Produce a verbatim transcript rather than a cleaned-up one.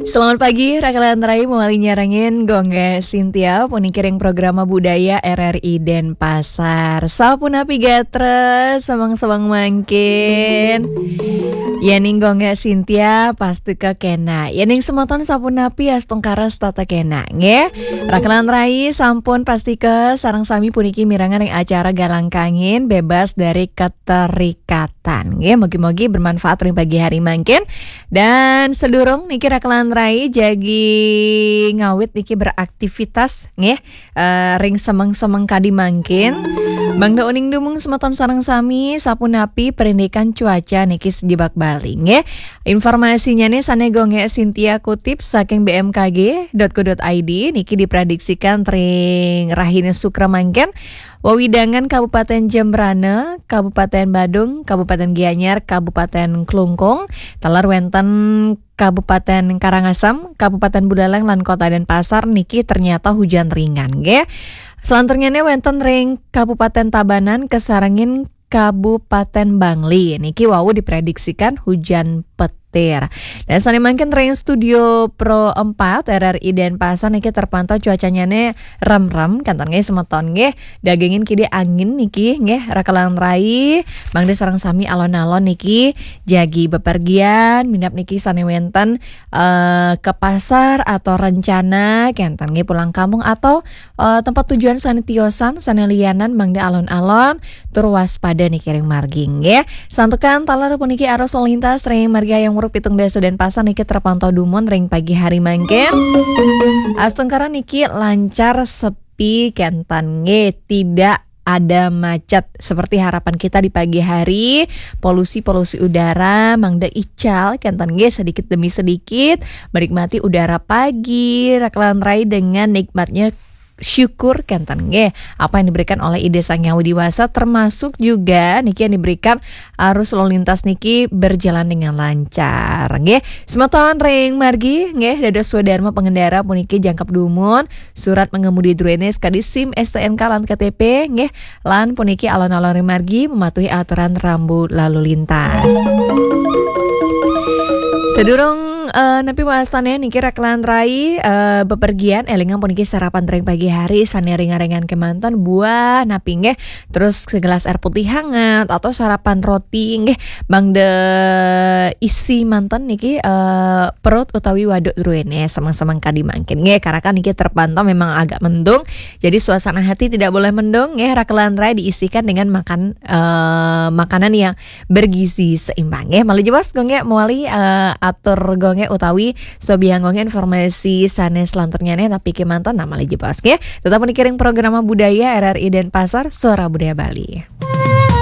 Selamat pagi, Raka lan Rai, mawali nyarengin Gung Gé Sintia, puniki ring Programa Budaya R R I Denpasar. Sapunapi gatra, semeng-semeng mangkin? Yéning Gung Gé Sintia, pasti kénak. Yéning semeton sapunapi, astungkara setata kénak, nggih. Raka lan Rai sampun pastika sareng sami puniki mirengang ring acara Galang Kangin Bebas dari Keterikatan. Nggih, mugi-mugi bermanfaat ring pagi hari mangkin. Dan sedurung niki Raka lan Rai jagi ngawit niki beraktivitas, nggih, eh, ring semeng-semeng kadi mangkin. Mangda uning dumun semeton sareng sami, sapunapi parindikan cuaca niki sajebag Bali, nggih. Informasinyané sané Gung Gé Sintia kutip saking B M K G dot co dot I D, niki diprediksikan ring rahina Sukra mangkin, wewidangan Kabupaten Jembrana, Kabupaten Badung, Kabupaten Gianyar, Kabupaten Klungkung, taler wénten Kabupaten Karangasem, Kabupaten Buleleng, lan Kota Denpasar niki ternyata hujan ringan, nggih. Selanturnyané wénten ring Kabupaten Tabanan kasarengin Kabupaten Bangli. Niki wau diprediksikan hujan petir. Dan sané mangkin ring Studio Pro empat R R I Denpasar niki terpantau cuacanyané remrem, kénten nggih semeton nggih. Dagingin kidi angin niki nggih, Raka lan Rai, mangda sareng sami alon-alon niki jagi bepergian, minab niki sané wénten eh, ke pasar atau rencana kénten nggih pulang kampung atau eh, tempat tujuan sané tiosan, sané lianan, mangda alon-alon tur waspada niki ring margi nggih. Santukan taler puniki arus lalu lintas ring margi Hayam Wuruk pitung dasa Denpasar niki terpantau dumun ring pagi hari mangkin. Astungkara niki lancar sepi kénten nggih, tidak ada macet seperti harapan kita di pagi hari. Polusi-polusi udara mangda ical kénten nggih, sedikit demi sedikit menikmati udara pagi, Raka lan Rai, dengan nikmatnya syukur kénten nggih apa yang diberikan oleh Ida Sang Hyang Widhi Wasa, termasuk juga niki yang diberikan arus lalu lintas niki berjalan dengan lancar nggih. Semeton ring margi nggih, dados swadarma pengendara puniki jangkep dumun surat mengemudi druéné sakadi SIM, STNK lan KTP nggih, lan puniki alon-alon ring margi mematuhi aturan rambu lalu lintas. Sedurung eh, napi wastané niki Raka lan Rai eh, bepergian, élingang puniki sarapan ring pagi hari sané ringan-ringan kémanten, buah napi nggih, terus segelas air putih hangat atau sarapan roti nggih, mangda isi manten niki eh, perut utawi waduk druéné semeng-semeng kadi mangkin nggih. Karena kan niki terpantau memang agak mendung, jadi suasana hati tidak boleh mendung nggih, Raka lan Rai, diisikan dengan makan eh, makanan yang bergizi seimbang nggih. Malih jebos Gung Gé mawali eh, atur Gung Gé utawi sobiahang Gung Gé informasi sané selanturnyané, napi kémanten, nah malih jebos nggih. Tetap niki ring Programa Budaya R R I Denpasar, Suara Budaya Bali.